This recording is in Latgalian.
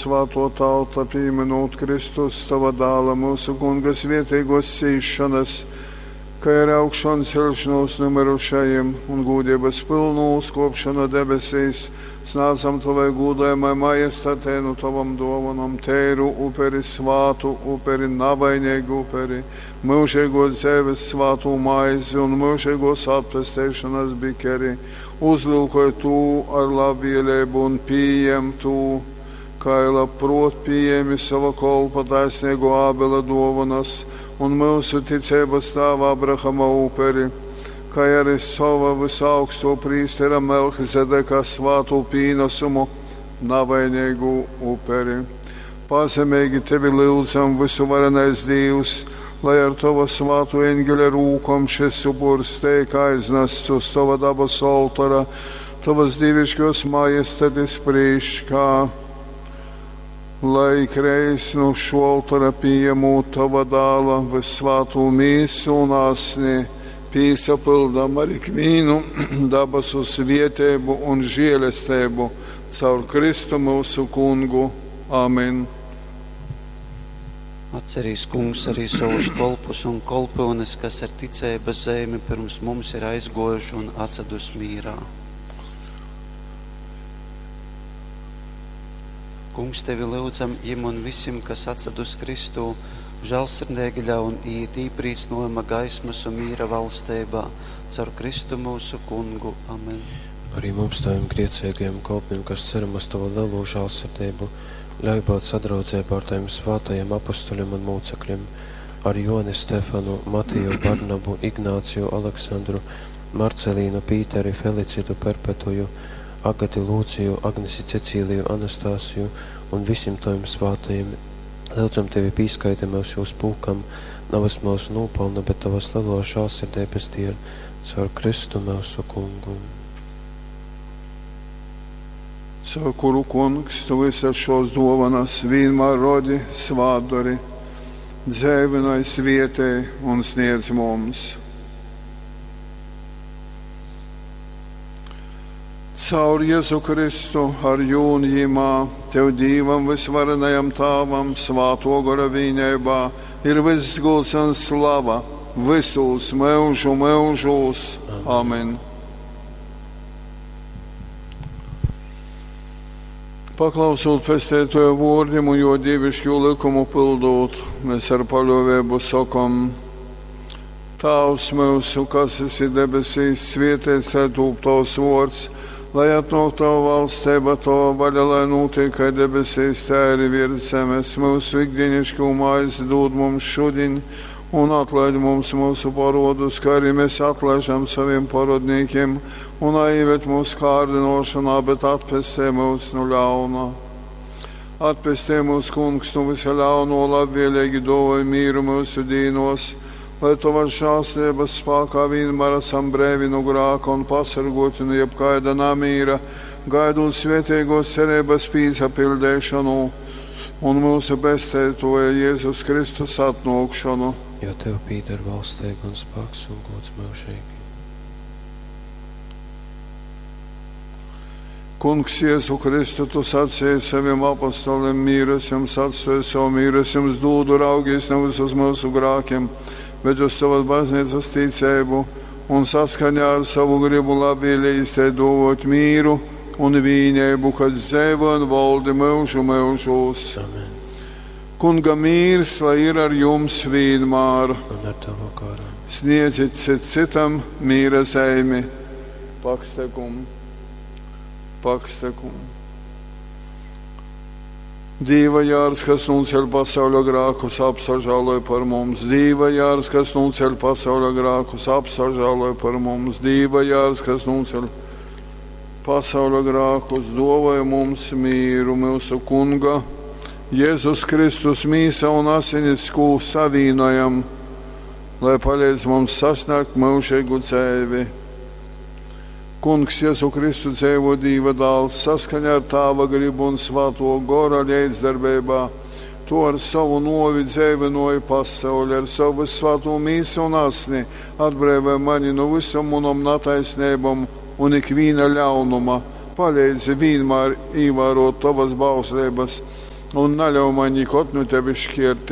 svātō tauta, pīmynūt Kristus, tova Dāla, myusu Kunga svietēgōs cīsšonas, kai arī augšonceļšonūs nu myrušajim un gūdeibas pylnu uzkōpšonu debesīs, snādzam tovai gūdojamai majestatei nu tovom dōvonom teiru uperi, svātu uperi, navaineigu uperi, myužeigōs dzeives svātū maizi un myužeigōs atpesteišonas bikeri. Uzlyukoj tū ar labvēleibu un pījem tū, kai labprōt pījēmi sova kolpa taisneigō Ābela dōvonas un myusu ticeibas tāva Abrahama uperi, kai arī sova vysaugstō prīstera Melchizedeka svātū pīnasumu, navaineigu uperi. Pazemeigi tevi lyudzam, vysuvarenais Dīvs, lai ar tova svātō eņgeļa rūkom šys upurs teik aiznasts uz tova dabasu oltora, tovas dīviškōs majestatis prīškā, lai ikreiz nu šo oltora pījemūt tova dāla vyssvātū mīsu un asni, pīsapyldam ar ikvīnu dabasu svieteibu un žielesteibu caur Kristu myusu Kungu. Amen. Atcerīs, Kungs, arī savus kolpus un kolpyunes, kas ar ticeibas zeimi pirms mums ir aizgōjuši un atsadus mīrā. Kungs, tevi lyudzam, jim un visim, kas atsadus Kristū, žālsirdīgi ļaun iet īprīcynojuma gaismas un mīra valsteibā, caur Kristu mūsu Kungu. Amen. Arī mums, taviem grēcīgajiem kolpiem, kas ceram uz tavu lielo žēlsirdību, ļauj būt sadraudzībā ar taviem svātajiem apustuļiem un mūcekļiem, ar Joni Stefanu, Matiju, Barnabu, Ignāciju, Aleksandru, Marcelīnu, Pīteri, Felicitu, Perpetuju, Agati Lūciju, Agnesi Cecīliju, Anastasiju un visiem taviem svātajiem. Lūdzam tevi pīskaiti mūs jūs pulkam, navas mūsu nopelna, bet tavas lielo žēlsirdības dēļ, caur Kristu mūsu Kungu. Caur kuru, Kungs, tu visas šos dovanas vienmēr rodi, svātdari, dzēvinai svietē un sniedz mums. Caur Jēzu Kristu ar jūn jimā, tev Dīvam visvarenajam Tāvam, svāto gora vīnībā, ir viss gods un slava visos mūžu mūžos. Amen. Paklausot pestētoja vārdiem un jo dievišķo likumu pildot, mēs ar paļāvību sakam: Tēvs mūsu, kas esi debesīs, svētīts lai tūp tavs vārds, lai atnāk tava valstība, tava vaļa, lai notiek kā debesīs, tā arī virs zemes. Mūsu ikdienišķo maizi dod mums šodien, un atlaid mums mūsu parodus, kā arī mēs atlaižam saviem parodniekiem, un neieved mūsu kārdinošanā, bet atpestē mūs no ļauna. Atpestē mūs, Kungs, no visa ļauno, labvēlīgi dāvāj mīru mūsu dīnos, lai tavas žēlstības spēkā vienmēr esam brīvi no grāka un pasargoti no jebkaida namīra, gaidot svētīgos cerības pīsapildēšanu un mūsu pestētoja Jēzus Kristus atnākšanu. Jo tev pīder valstība un spēks un gods mūžīgi. Kungs, Jēzu Kristu, tu sacīji saviem apostoliem, mīras jums atstāju savu mīras jums dūdu, raugies nevis uz mūsu grākiem, bet uz savas baznīcas ticību un saskaņā ar savu gribu labvēlīgi te dot mīru un vīnību, kas dzīvo un valdi mūžu mūžos. Amen. Kunga mīrs, lai ir ar jums vienmēr. Un ar tavu garu. Sniedziet cit citam mīra zeimi. Pakstekум. Pakstekum. Dīva jārs, kas nunceļ pasauļa grākus, apsažāloj par mums. Dīva jārs, kas nunceļ pasauļa grākus, apsažāloj par mums. Dīva jārs, kas nunceļ pasauļa grākus, dāvāj mums mīru, mūsu Kunga. Jēzus Kristus mīsa un asinis, ko savīnojam, lai palīdz mums sasniegt mūžīgu dzīvi. Kungs Jēzu Kristu dzīvo Dīva dāls saskaņā ar Tāva gribu un Svēto gora līdzdarbībā. Tu ar savu novi dzīvinoji pasauli, ar savu svēto mīsu un asni atbrīvoji mani no visam manam netaisnībām un ikviena ļaunuma. Palīdzi vienmēr ievērot tavas bauslības. Un naļau maņ nikod nu tevis škiertīs.